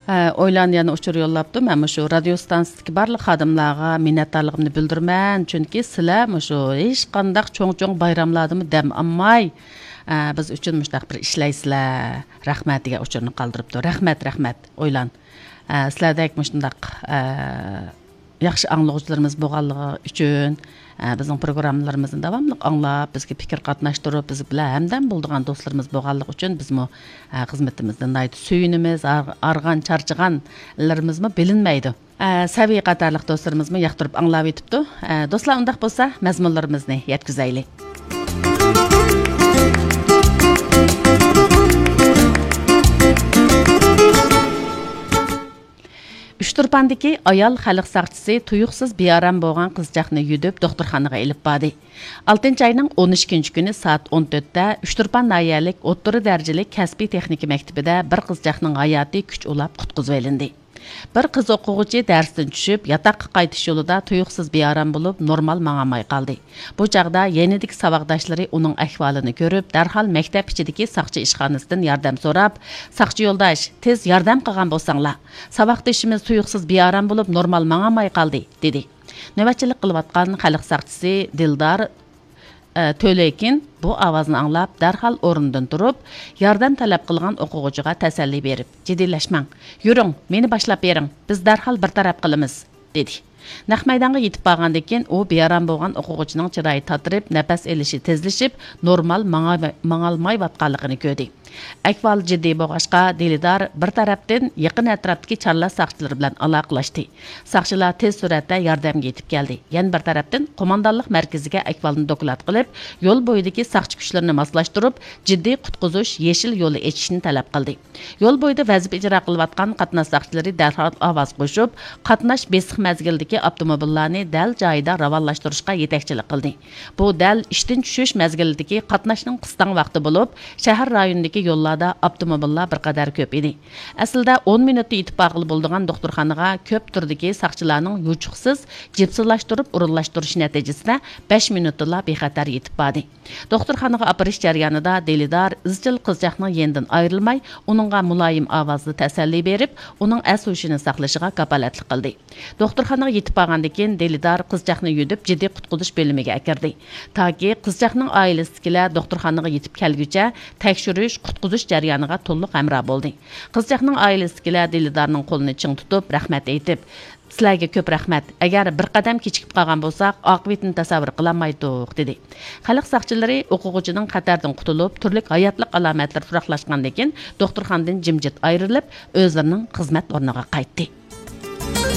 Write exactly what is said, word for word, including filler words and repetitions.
ئە، ئويلان يەنە ئۇچۇر يوللاپتۇ. مەن مۇشۇ رادىيو ستانسىسىدىكى بارلىق خادىملارغا مىننەتدارلىقىمنى بىلدۈرىمەن، چۈنكى سىلەر مۇشۇ ھېچقانداق چوڭ-چوڭ بايراملاردىمۇ دەم ئالماي، ئە، بىز ئۈچۈن مۇشۇنداق بىر ئىشلەيسىلەر. رەھمەت دېگەن ئۇچۇرنى قالدۇرۇپتۇ. رەھمەت، رەھمەت، ئويلان. ئە، سىلەردەك مۇشۇنداق، ئە، ياخشى ئاڭلىغۇچىلىرىمىز بولغانلىقى ئۈچۈن، ئە، بىزنىڭ پروگراممىلىرىمىزنى داۋاملىق ئاڭلاپ، بىزگە پىكىر قاتناشتۇرۇپ، بىز بىلەن ھەمدەم بولىدىغان دوستلىرىمىز بولغانلىقى ئۈچۈن بىزمۇ، ئە، خىزمىتىمىزدىن ناھايىتى سۆيۈنىمىز، ئار-، ئارغان چارچىغانلىرىمىزمۇ بىلىنمەيدۇ. ئە، سەۋىيە قاتارلىق دوستلىرىمىزمۇ ياقتۇرۇپ ئاڭلاۋېتىپتۇ. ئە، دوستلار، ئۇنداق بولسا مەزمۇنلىرىمىزنى يەتكۈزەيلى. ئۇچتۇرپاندىكى ئايال خەلق ساقچىسى تۇيۇقسىز بىئارام بولغان قىزچاقنى يۈدۈپ دوختۇرخانىغا ئېلىپ باردى. ئالتىنچى ئاينىڭ ئون ئىككىنچى كۈنى سائەت ئون تۆتتە ئۇچتۇرپان ناھىيەلىك ئوتتۇرا دەرىجىلىك كەسپىي تېخنىكا مەكتىپىدە بىر قىزچاقنىڭ ھاياتى كۈچ ئۇلاپ قۇتقۇزۇۋېلىندى. بىر قىز ئوقۇغۇچى دەرستىن چۈشۈپ، ياتاققا قايتىش يولىدا تۇيۇقسىز بىئارام بولۇپ، نورمال ماڭالماي قالدى. بۇ چاغدا يېنىدىكى ساۋاقداشلىرى ئۇنىڭ ئەھۋالىنى كۆرۈپ، دەرھال مەكتەپ ئىچىدىكى ساقچى ئىشخانىسىدىن ياردەم سوراپ، «ساقچى يولداش، تېز ياردەم قىلغان بولساڭلار! ساۋاقدىشىمىز تۇيۇقسىز بىئارام بولۇپ، نورمال ماڭالماي قالدى» دېدى. نۆۋەتچىلىك قىلىۋاتقان خەلق ساقچىسى دىلدار، ئە، تۆلېكىن بۇ ئاۋازنى ئاڭلاپ، دەرھال ئورنىدىن تۇرۇپ، ياردەم تەلەپ قىلغان ئوقۇغۇچىغا تەسەللى بېرىپ، «جىددىيلەشمەڭ، يۈرۈڭ، مېنى باشلاپ بېرىڭ، بىز دەرھال بىر تەرەپ قىلىمىز» دېدى. نەق مەيدانغا يېتىپ بارغاندىن كېيىن، ئۇ بىئارام بولغان ئوقۇغۇچىنىڭ چىرايى تاتىرىپ، نەپەس ئېلىشى تېزلىشىپ، نورمال ماڭا-، ماڭالمايۋاتقانلىقىنى كۆردى. ئەھۋال جىددىي بولغاچقا، دىلىدار بىر تەرەپتىن يېقىن ئەتراپتىكى چارلاش ساقچىلىرى بىلەن ئالاقىلەشتى. ساقچىلار تېز سۈرئەتتە ياردەمگە يېتىپ كەلدى. يەنە بىر تەرەپتىن، قوماندانلىق مەركىزىگە ئەھۋالنى دوكلات قىلىپ، يول بويىدىكى ساقچى كۈچلىرىنى ماسلاشتۇرۇپ، جىددىي قۇتقۇزۇش يېشىل يولى ئېچىشنى تەلەپ قىلدى. يول بويىدا ۋەزىپە ئىجرا قىلىۋاتقان قاتناش ساقچىلىرى دەرھال ئاۋاز قوشۇپ، قاتناش بېسىق مەزگىلدىكى ئاپتوموبىللارنى دەل جايىدا راۋانلاشتۇرۇشقا يېتەكچىلىك قىلدى. بۇ دەل ئىشتىن چۈشۈش مەزگىلىدىكى قاتناشنىڭ قىستاڭ ۋاقتى بولۇپ، شەھەر رايونىدىكى يوللاردا ئاپتوموبىللار بىر قەدەر كۆپ ئىدى. ئەسلىدە ئون مىنۇتتا يېتىپ بارغىلى بولىدىغان دوختۇرخانىغا كۆپ تۈردىكى ساقچىلارنىڭ يوچۇقسىز جىپسىلاشتۇرۇپ ئورۇنلاشتۇرۇشى نەتىجىسىدە بەش مىنۇتتىلا بىخەتەر يېتىپ باردى. دوختۇرخانىغا ئاپىرىش جەريانىدا دىلىدار ئىزچىل قىزچاقنىڭ يېنىدىن ئايرىلماي، ئۇنىڭغا مۇلايىم ئاۋازدا تەسەللى بېرىپ، ئۇنىڭ ئەس-ھوشىنى ساقلىشىغا كاپالەتلىك قىلدى. دوختۇرخانىغا يېتىپ بارغاندىن كېيىن، دىلىدار قىزچاقنى يۈدۈپ جىددىي قۇتقۇزۇش بۆلۈمىگە ئەكىردى. تاكى قىزچاقنىڭ ئائىلىسىدىكىلەر دوختۇرخانىغا يېتىپ كەلگۈچە تەكشۈرۈش، قۇتقۇزۇش جەريانىغا تولۇق ھەمراھ بولدى. قىزچاقنىڭ ئائىلىسىدىكىلەر دىلىدارنىڭ قولىنى چىڭ تۇتۇپ، رەھمەت ئېيتىپ، «سىلەرگە كۆپ رەھمەت. ئەگەر بىر قەدەم كېچىكىپ قالغان بولساق، ئاقىۋىتىنى تەسەۋۋۇر قىلالمايتتۇق» دېدى. خەلق ساقچىلىرى ئوقۇغۇچىنىڭ خەتەردىن قۇتۇلۇپ، تۈرلۈك ھاياتلىق ئالامەتلىرى تۇراقلاشقاندىن كېيىن، دوختۇرخانىدىن جىمجىت ئايرىلىپ، ئۆزلىرىنىڭ خىزمەت ئورنىغا قايتتى.